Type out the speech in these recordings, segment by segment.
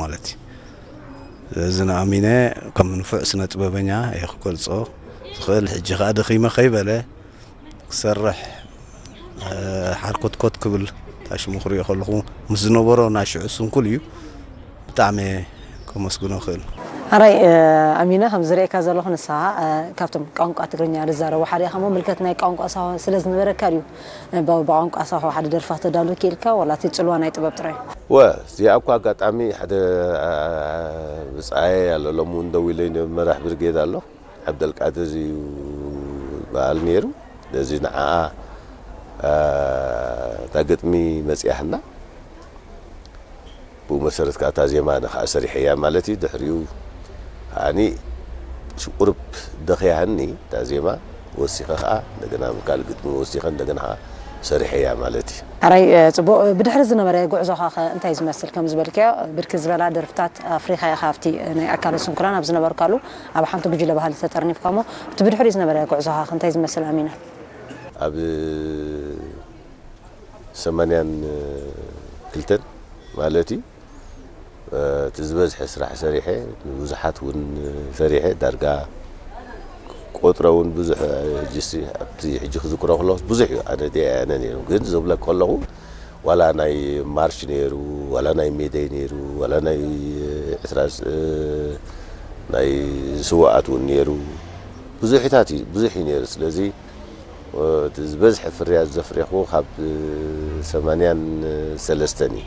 ማለት እዩ። ስለዚ ንኣሚነ ከም ንፉዕ ስነ ጥበበኛ እየ ክገልጾ ዝኽእል። ሕጂ ከኣ ደኺመ ከይበለ ክሰርሕ፣ እ፣ ሓርኮትኮት ክብል ታሽሙ ክሪኦ ከለኹ ምስ ዝነበሮ ናይ ሽዑ ስንኩል እዩ። ብጣዕሚ ከመስግኖ እኽእል። ኣራይ፣ እ፣ ኣሚነ፣ ከም ዝርእየካ ዘለኹ ንስኻ፣ እ፣ ካብቶም ቋንቋ ትግርኛ ዝዛረቡ ሓደ ኢኻ እሞ ምልከት ናይ ቋንቋ ሳሆ ስለ ዝነበረካ ድዩ፣ እ፣ ብ-፣ ብቋንቋ ሳሆ ሓደ ደርፋ ተዳሉ ክኢልካ፣ ዋላ እቲ ጽልዋ ናይ ጥበብ ጥራይ? ወ፣ እዚኣ እኳ ኣጋጣሚ ሓደ፣ እ፣ ብጻየ ኣሎ፣ ሎሚ እውን ደዊለይ መራሕ ብርጌድ ኣሎ። ዓብደልቃድር እዩ ዝበሃል ነይሩ። ስለዚ ንዓኣ፣ እ፣ እታ ግጥሚ መጺኣትና። ብኡ መሰረት ከኣ እታ ዜማ ንኸኣ ሰሪሐያ ማለት እዩ። ድሕሪኡ ከኣኒ ሽ-፣ ቁሩብ ደኽያኒ እታ ዜማ ወሲኸ ከኣ እንደገና ካልእ ግጥሚ ወሲኸ እንደገና ከኣ ሰሪሐያ ማለት እዩ። ኣራይ፣ እ፣ ጽቡቕ። ብድሕሪ ዝነበረ ጉዕዞኻ ኸ እንታይ ዝመስል? ከም ዝበልክዮ ብርክት ዝበላ ደርፍታት ኣፍሪኻ ኢኻ ኣብቲ ናይ ኣካለ ስንኩላን ኣብ ዝነበርካሉ ኣብ ሓንቲ ጉጅለ ባህሊ ተጠርኒፍካ እሞ፣ እቲ ብድሕሪኡ ዝነበረ ጉዕዞኻ ኸ እንታይ ዝመስል ኣሚነ? ኣብ ሰማንያን ክልተን ማለት እዩ። እ፣ እቲ ዝበዝሐ ስራሕ ሰሪሐ፣ ንብዙሓት እውን ሰሪሐ፣ ዳርጋ ቆጥረ እውን ብዙሕ፣ ሕጂስ ኣብቲ ሕጂ ክዝክሮ ከለኹ ብዙሕ እዩ። ኣነ ደኣ ኣነ ነይሩ። ግን ዝብለካ ከለኹ ዋላ ናይ ማርች ነይሩ፣ ዋላ ናይ ሜደይ ነይሩ፣ ዋላ ናይ ዕስራ፣ እ፣ ናይ ስውኣት እውን ነይሩ። ብዙሕታት እዩ፣ ብዙሕ እዩ ነይሩ። ስለዚ እቲ ዝበዝሐ ፍርያት ዘፍሬኹ ካብ ሰማንያን ሰለስተን እዩ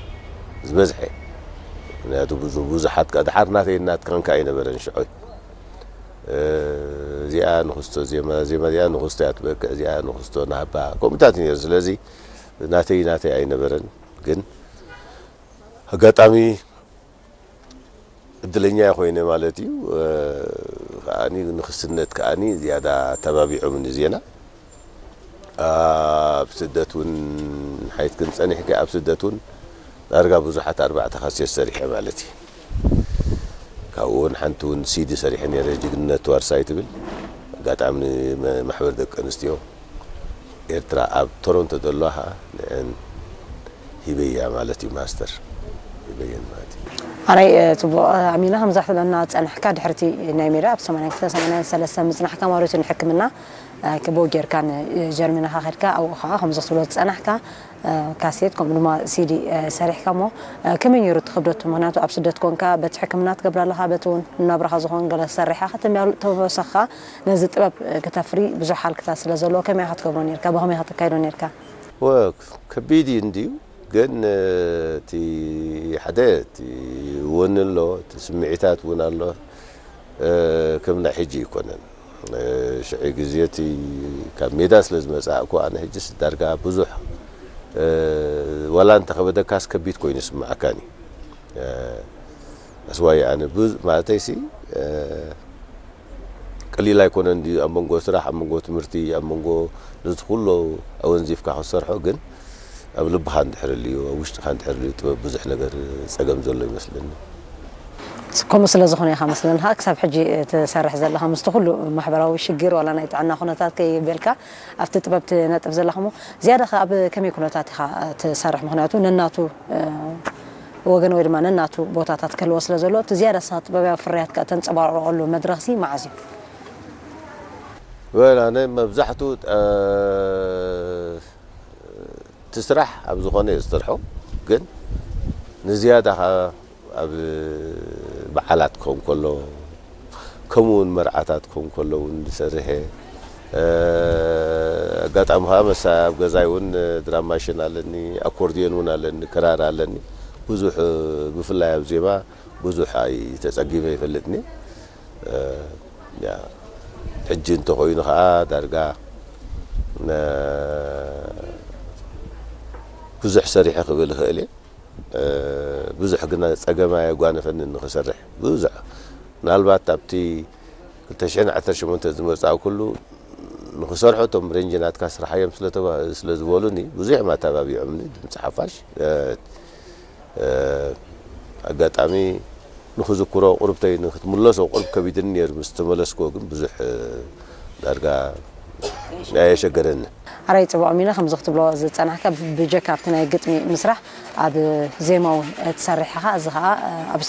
ዝበዝሐ። ምክንያቱ ብዙ-፣ ብዙሓት ከ-፣ ድሓር ናተይ ናትካን ከ ኣይነበረን ሽዑ። እ፣ እዚኣ ንኽስቶ ዜማ፣ ዜማ እዚኣ ንኽስቶ እያ ትበቅዕ፣ እዚኣ ንኽስቶ ናህባ፣ ከምኡታት እዩ ነይሩ። ስለዚ ናተይ ናተይ ኣይነበረን። ግን ኣጋጣሚ እድለኛ ኮይነ ማለት እዩ። እ፣ ከኣኒ ንክስነት ከኣኒ ዝያዳ ተባቢዖምኒ ዜና። ኣብ ስደት እውን ሓይትክን ጸኒሕኪ፣ ኣብ ስደት እውን ዳርጋ ብዙሓት ኣርባዕተ ካሴት ሰሪሐ ማለት እዩ። ካብኡ እውን ሓንቲ እውን ሲዲ ሰሪሐ ነይረ፣ ጅግንነት ዋርሳይ ትብል። ኣጋጣሚ ንመ-፣ ማሕበር ደቂ ኣንስትዮ ኤርትራ ኣብ ቶሮንቶ ዘለዋ ኸኣ ንዕን ሂበያ ማለት እዩ፣ ማስተር ሂበየን ማለት እዩ። ኣራይ፣ እ፣ ጽቡቕ፣ እ፣ ኣሚና፣ ከምዛ ክትብለና ዝጸናሕካ ድሕርቲ ናይ ሜዳ ኣብ ሰማንያን ክልተ ሰማንያን ሰለስተ ምጽናሕካ ማለት እዩ፣ ንሕክምና፣ እ፣ ክቦ ጌርካ ንጀርመን ኢኻ ከድካ፣ ኣብኡ ኸኣ ከምዚ ክትብሎ ዝጸናሕካ፣ እ፣ ካሴት ከምኡ ድማ ሲዲ፣ እ፣ ሰሪሕካ እሞ፣ እ፣ ከመይ ነይሩ እቲ ክብደቱ? ምኽንያቱ ኣብ ስደት ኮንካ በቲ ሕክምና ትገብር ኣለኻ፣ በቲ እውን ንናብራኻ ዝኾን ገለ ሰሪሕካ ከተመል-፣ ተመሰኻ ነዚ ጥበብ፣ እ፣ ከተፍሪ ብዙሕ ሃልክታት ስለ ዘለዎ ከመይ ኢኻ ትገብሮ ነርካ? ብኸመይ ኢኻ ተካይዶ ነርካ? ወ-፣ ከቢድ እዩ እንድዩ፣ ግን፣ እ፣ እቲ ሓደ እቲ ወኒ ኣሎ፣ እቲ ስምዒታት እውን ኣሎ። እ፣ ከም ናይ ሕጂ ኣይኮነን። እ፣ ሽዑ ግዜ እቲ ካብ ሜዳ ስለ ዝመጻእኩ ኣነ ሕጅስ ዳርጋ ብዙሕ፣ እ፣ ዋላ እንተኸበደካስ ከቢድ ኮይኑ ይስምዓካን እዩ። እ፣ ኣስዋይ ኣነ ብዙ ማለተይሲ፣ እ፣ ቀሊል ኣይኮነን ድዩ ኣብ መንጎ ስራሕ፣ ኣብ መንጎ ትምህርቲ፣ ኣብ መንጎ ነዚ ኩሉ ኣወንዚፍካ ክትሰርሖ፣ ግን ኣብ ልብኻ እንድሕር ልዩ፣ ኣብ ውሽጥኻ እንድሕር ልዩ ጥበብ ብዙሕ ነገር ጸገም ዘሎ ይመስለኒ። ከምኡ ስለ ዝኾነ ኢኻ መስለኒ ኸኣ ክሳብ ሕጂ ትሰርሕ ዘለኻ፣ ምስቲ ኩሉ ማሕበራዊ ሽግር ዋላ ናይ ጥዕና ኩነታት ከይበልካ ኣብቲ ጥበብ ትነጥፍ ዘለኻ እሞ፣ ዝያዳ ኸ ኣብ ከመይ ኩነታት ኢኻ ትሰርሕ? ምኽንያቱ ነናቱ፣ እ፣ ወገን ወይ ድማ ነናቱ ቦታታት ክህልዎ ስለ ዘሎ፣ እቲ ዝያዳ ንስኻ ጥበባዊ ፍርያትካ እተንጸባርቐሉ መድረኽሲ መዓዝ እዩ? ወላ ኣነ መብዛሕትኡ፣ እ፣ እቲ ስራሕ ኣብ ዝኾነ እየ ዝሰርሖ፣ ግን ንዝያዳ ኸኣ ኣብ በዓላት ክኸውን ከሎ፣ ከምኡ እውን መርዓታት ክኸውን ከሎ እውን ዝሰርሕ እየ። እ፣ ኣጋጣሚ ኸኣ መሳ ኣብ ገዛይ እውን ድራም ማሽን ኣለኒ፣ ኣኮርድዮን እውን ኣለኒ፣ ክራር ኣለኒ። ብዙሕ፣ ብፍላይ ኣብ ዜማ ብዙሕ ኣይተጸጊመ ኣይፈልጥን እየ። እ፣ ያ፣ ሕጂ እንተኾይኑ ኸኣ ዳርጋ ነ-፣ ብዙሕ ሰሪሐ ክብል እኽእል እየ። እ፣ ብዙሕ ግና ጸገም ኣየጓነፈንን ንኽሰርሕ። ብዙሕ፣ ምናልባት ኣብቲ ክልተ ሽሕን ዓሰርተ ሸሞንተን ዝመጻእኩሉ ንኽሰርሖ እቶም ሬንጅ ናትካ ስራሕ እዮም ስለ ተባ-፣ ስለ ዝበሉኒ ብዙሕ እዮም ኣተባቢዖምኒ፣ ድምጺ ሓፋሽ። እ፣ እ፣ ኣጋጣሚ ንኽዝክሮ ቁርብተይ ንክትምለሶ ቁርብ ከቢድኒ ነይሩ፣ ምስ ተመለስኩዎ ግን ብዙሕ፣ እ፣ ዳርጋ ኣየሸገረኒ። ኣራይ ጽቡቕ ሚና ከምዚ ክትብሎ ዝጸናሕካ ብጀካ ኣብቲ ናይ ግጥሚ ምስራሕ ኣብ ዜማ እውን ትሰርሕ ኢኻ። እዚ ኸኣ ኣብ